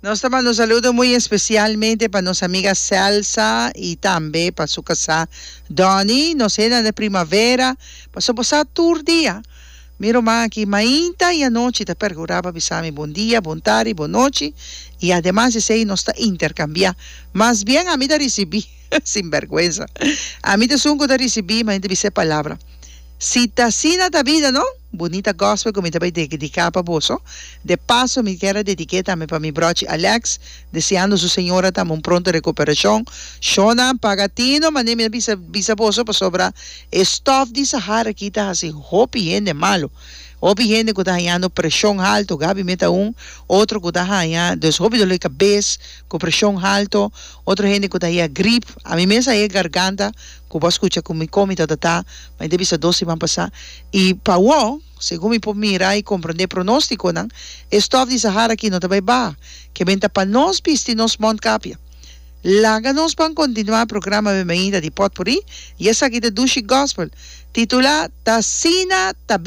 Nos ta manda un saludo muy especialmente pa nos amiga Celsa y tambe pa su casá Donny. Nos henda na primavera, pasobra bo sa tur dia mi ruman aki mainta y anochi ta percura pa bisa mi bon dia, bon tardi, bon nochi y ademas esey nos ta intercambia. Mas bien ami ta ricibi, sinberguensa, ami ta esun cu ta ricibi, ma mi ta bisa e palabra. Si ta asina ta bida no? Bunita gospel ku mi ta bai dediká pa boso. De paso mi kier a dedik'é tambe pa mi brochi Alex, deseando su señora tambe un pronto rekuperashon. Shona, paga tino, manera mi a bisa bisa boso pasobra e stof di Sahara aki ta hasi hopi hende malu. Hopi hende ku ta hañando preshon haltu, Gaby mi ta un, otro ku ta haña dus hopi dolor di kabes ku preshon haltu, otro hende ku ta haña grip, ami mes a haña garganta ku bo a skucha ku mi kon mi ta tata, ma mi ta bisa dos siman pasá. I pa awor, segun mi por mira i komprondé pronóstikonan, e stòf di Sahara aki no ta bai baha. Ke benta pa nos bisti nos mòntkapia. Laga nos ban kontinuá programa Bienvenida di Pòtpurrí, i esaki ta Dushi Gospel, titulá T'asina ta.